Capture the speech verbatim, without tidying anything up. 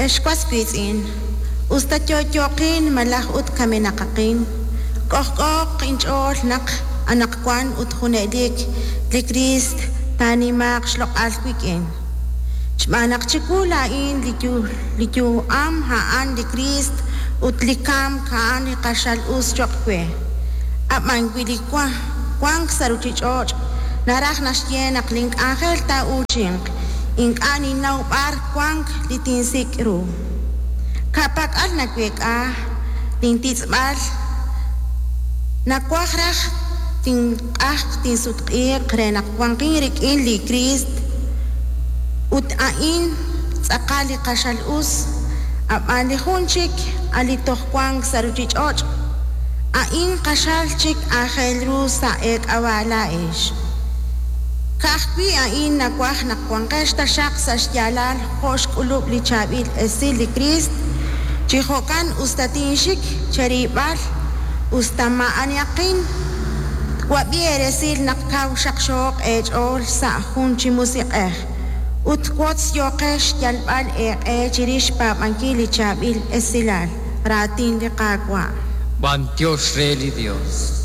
Ex was wiitz'in, us ta yo'yooqin malaj ut kamenaqaqin, k'ojk'ooq inch'ool naq anaqwan ut junelik li Kriist taanimaaq xloq'al wik'in. Xb'aan naq chiwu laa'in li li yu'am a'an li Kriist ut li kamk a'an li q'axal us cho'q we. Ab'an wi li wank sa' ruuchich'och' naraj naxye naq link'anjel taa'uuchinq, ink'a' ninnaw b'ar wank li tinsik' ru. Ka'pak'al naweek'a lintitz'b'al, nawaj raj tinq'ajq tinsutq'iiq re naq wanqin rik'in li Kriist ut a'in tz'aqal li q'axal us, ab'an li jun chik a' li toj wank sa' ruuchich'och', a'in q'axal chik aajel ru sa' eek'ab'a' laa'ex. Ka'ajwi' a'in nawaj naq wanqex taxaq sa' xyaalal jo' xk'ulub' li chaab'il esil li Kriist, chi jo'kan us ta tinxik cherib'al, us ta maa'anihaqin, twab'i eeresil naq kaw xaqxooq eech'ool sa' jun chi musiq'ej ut wotz yooqex xyalb'al eeq'e chirix xpaab'ankil li chaab'il esilal, raatin li Qaawa'. B'antiox re li Dios.